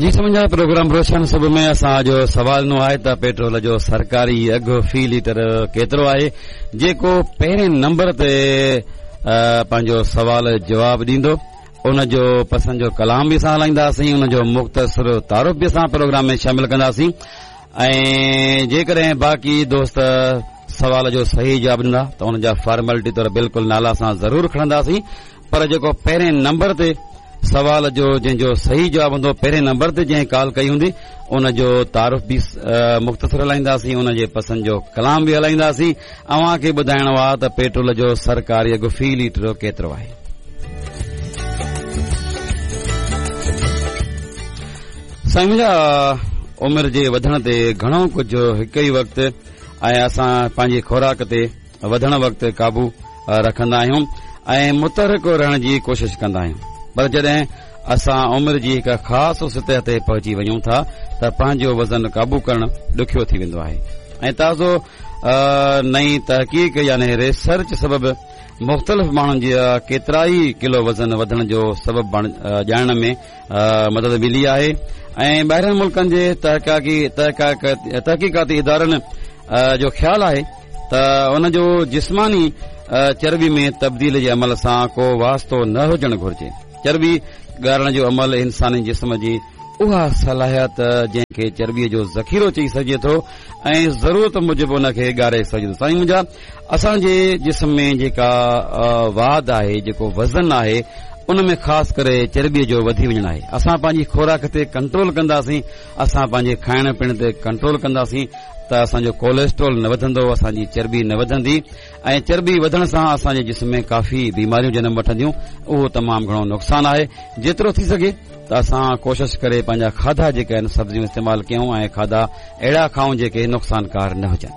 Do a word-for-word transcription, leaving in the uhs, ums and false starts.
جي سمجها پروگرام روشن صبح ۾ اسان جو سوال نو آهي ته پيٽرول جو سرڪاري اگهه في ليٽر ڪيترو آهي؟ جيڪو پهرين نمبر تي پنهنجو سوال جواب ڏيندو ان جو پسند جو ڪلام به اسان هلائينداسين، ان جو مختصر تعارف به اسان پروگرام ۾ شامل ڪنداسين ۽ جيڪڏهن باقي دوست سوال جو صحيح جواب ڏيندا ته ان جا فارملٽي طور بلڪل نالا اسان ضرور کڻنداسين، پر جيڪو پهرين نمبر تي سوال جو جنهن جو صحيح جواب هوندو، پهرين نمبر تي جنهن ڪال ڪئي هوندي ان جو تعارف به مختصر هلائينداسين، ان جي پسند جو ڪلام به هلائينداسين. اوهان کي ٻڌائڻو آهي ته پيٽرول جو سرڪاري اگهه في ليٽر ڪيترو آهي. سائين منهنجا، عمر جي وڌڻ تي گهڻو ڪجهه هڪ ئي وقت ۽ اسان پنهنجي خوراڪ تي وڌڻ وقت قابو رکندا آهيون ۽ متحرڪ رهڻ جي ڪوشش ڪندا آهيون، پر جڏهن اسان عمر جي هڪ خاص سطح تي پهچي وڃون ٿا ته پنهنجو وزن قابو ڪرڻ ڏکيو ٿي ويندو آهي ۽ تازو نئين تحقيق يعني ريسرچ سبب مختلف ماڻهن جي ڪيترائي ڪلو وزن وڌڻ جو سبب ڄاڻڻ ۾ مدد ملي آهي ۽ ٻاهرين ملڪن جي تحقيقاتي ادارن جو خيال آهي ته ان جو جسماني چرٻي ۾ تبديل جي عمل سان ڪو واسطو نه هجڻ گهرجي. چرٻي ڳارڻ جو عمل انساني جسم جي اها صلاحيت جنهن کي چرٻيء جو ذخيرو چئي سگهجي ٿو ۽ ضرورت موجب ان کي ڳاري سگهجي ٿو. سائين منهنجا، اسان جي جسم ۾ جيڪا واڌ آهي، جيڪو وزن آهي، ان ۾ خاص ڪري چرٻيء جو وڌي وڃڻ آهي. اسان پنهنجي خوراڪ تي ڪنٽرول ڪنداسين، اسان پنهنجي کائڻ پيئڻ تي ڪنٽرول ڪنداسين ته اسان جو ڪوليسٽرول نه وڌندو، اسان جي چرٻي نه وڌندي ۽ چرٻي وڌڻ سان اسان جي جسم ۾ ڪافي بيماريون جنم وٺنديون. اهو تمام گهڻو نقصان آهي. جيترو ٿي سگهي ته اسان ڪوشش ڪري پنهنجا کاڌا جيڪي آهن سبزيون استعمال ڪيون ۽ کاڌا اهڙا کائون جيڪي نقصانڪار نه هجن.